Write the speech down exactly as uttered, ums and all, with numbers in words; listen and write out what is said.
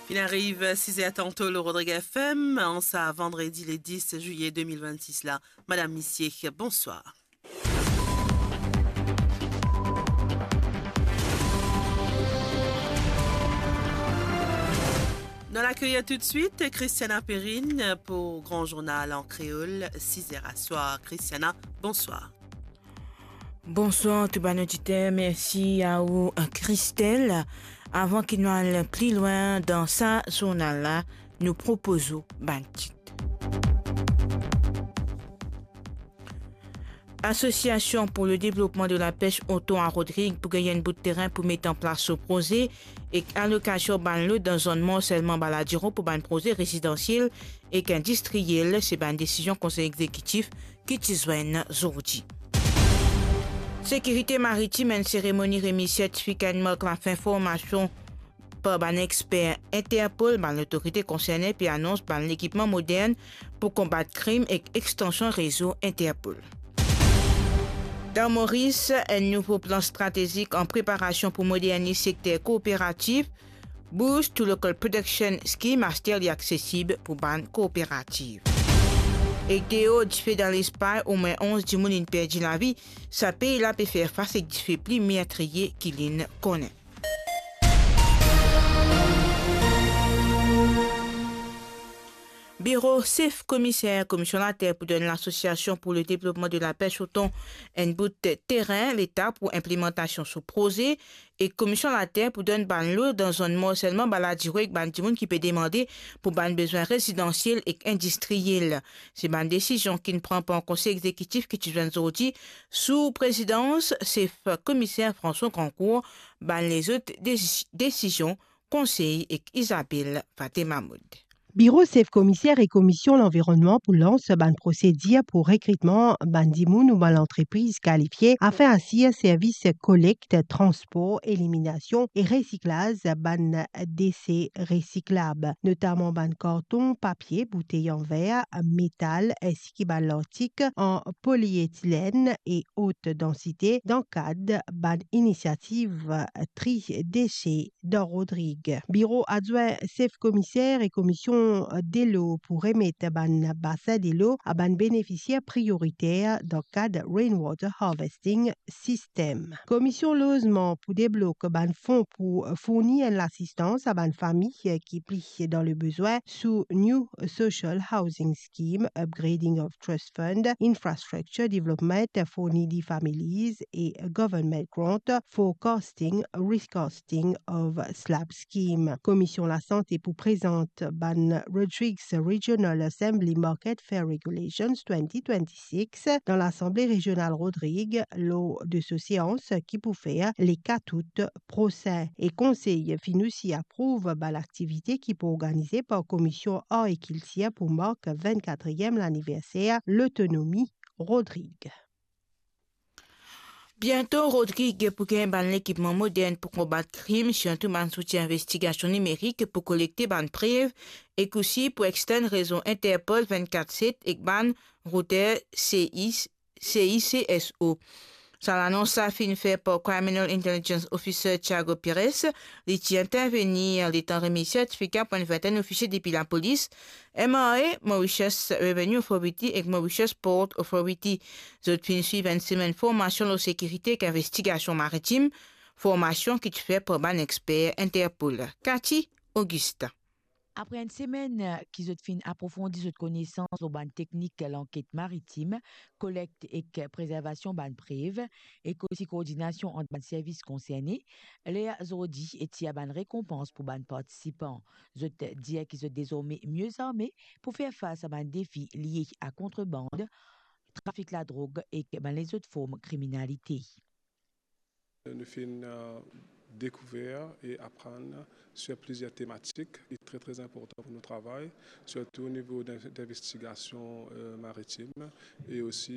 Finn ariv sis er tanto lor Rodrig F M, an sa vandredi le dis zilye de mil vennsis la. Madam, misie, bonswar. Nou al akeyir toutswit Christiana Perrine pou Gran Zournal an Kreol, sis er aswar. Christiana, bonswar. Bonswar tou bann oditer, mersi a ou, Christelle. Avan ki nou al pli lwin dan sa zournal la, nou propoz ou bann tit. Association pour le développement de la pêche au thon à Rodrigues pou gagn enn bout terin pou met an plas so proze ek alokasion bann lot dan zonn morselman Baladiro pou bann proze rezidansiel ek indistriel, se bann desizion Konsey Egzekitif ki ti zwenn zordi. Sekirite Maritim, enn seremoni remiz sertifika enn mark lafin formasion par bann exper Interpol, bann lotorite konserne pe anons bann lekipman modern pou konbat krim ek extansion rezo Interpol. Dan Moris, enn nouvo plan stratezik an preparasion pou moderniz sekter kooperatif, Boost to Local Production Scheme, aster li aksesib pou bann kooperativ. Ek deor dife dan Lespagn, omwin onz dimoun inn perdi lavi, sa pei la pe fer fas ek dife pli mertriye ki linn konnen. Biro Sef Komiser Komision Later pou donn L'association pour le développement de la pêche au thon enn bout terin leta pou inplimantasion so proze, e Komision Later pou donn bann lot dan zonn morselman Baladiro ek bann dimoun ki pe demande pou bann bezwin rezidansiel ek indistriel. Se bann desizion ki'nn pran par Konsey Egzekitif ki ti zwenn zordi sou prezidans Sef Komiser François Grandcourt. Bann lezot desi-, desizion, konsey ek Isabelle Fatema Maud. Biro Sef Komiser e Komision Lanvironnman pou lans bann prosedir pou rekritman bann dimoun ou bann lantrepriz kalifie afin asir servis kolekt, transpor, eliminasion e resiklaz bann dese resiklab, notaman bann karton, papie, boutey an ver, metal, ensi ki bann lartik an polietilenn e ot dansite, dan kad bann inisiativ tri dese dan Rodrig. Biro adwin Sef Komiser e Komision Delo pou remet bann basin delo a bann benefisier prioriter dan kad Rainwater Harvesting System. Komision Lozman pou deblok bann fon pou fourni enn lasistans a bann fami ki pli dan lebezwin sou New Social Housing Scheme, Upgrading of Trust Fund, Infrastructure Development for Needy Families e Government Grant for Casting, Recasting of Slab Scheme. Komision Lasante pou prezant bann Rodrigues Regional Assembly Market Fair Regulations twenty twenty-six dan Lasanble Rezional Rodrig lor de so seans ki pou fer le kat out prosin. E Konsey finn osi aprouv bann aktivite ki pou organize par Komision Ar e Kiltir pou mark vennkatriem laniverser lotonomi Rodrig. Biento, Rodrig pou gagn bann lekipman modern pou konbat krim, sirtou bann zouti investigasion nimerik pou kolekte bann prev, ek osi pou extend rezo Interpol vennkat set ek bann router C I, C I C S O. Sa lanons la finn fer par Criminal Intelligence Officer Tiago Pires. Li ti intervenir letan remiz sertifika pou enn vintenn ofisie depi lapolis, M R A, Mauritius Revenue Authority ek Mauritius Port Authority. Zot finn swiv enn semenn formasion lor sekirite ek investigasion maritim, formasion ki ti fer par bann exper Interpol. Cathy Augustin. Apre enn semenn ki zot finn aprofondi zot konesans lor bann teknik lanket maritim, kolekt ek prezervasion bann prev, ek osi koordinasion ant bann servis konserne, ler zordi e tir bann rekonpans pou bann partisipan. Zot dir ki zot dezorme mie arme pou fer fas a bann defi lie a kontreband, trafik ladrog ek bann lezot form kriminalite. Nou finn, euh, dekouver e aprann sur plizier tematik ki tre, tre inportan pou nou travay, sirtou o nivo d'in-, d'investigasion, euh, maritim e osi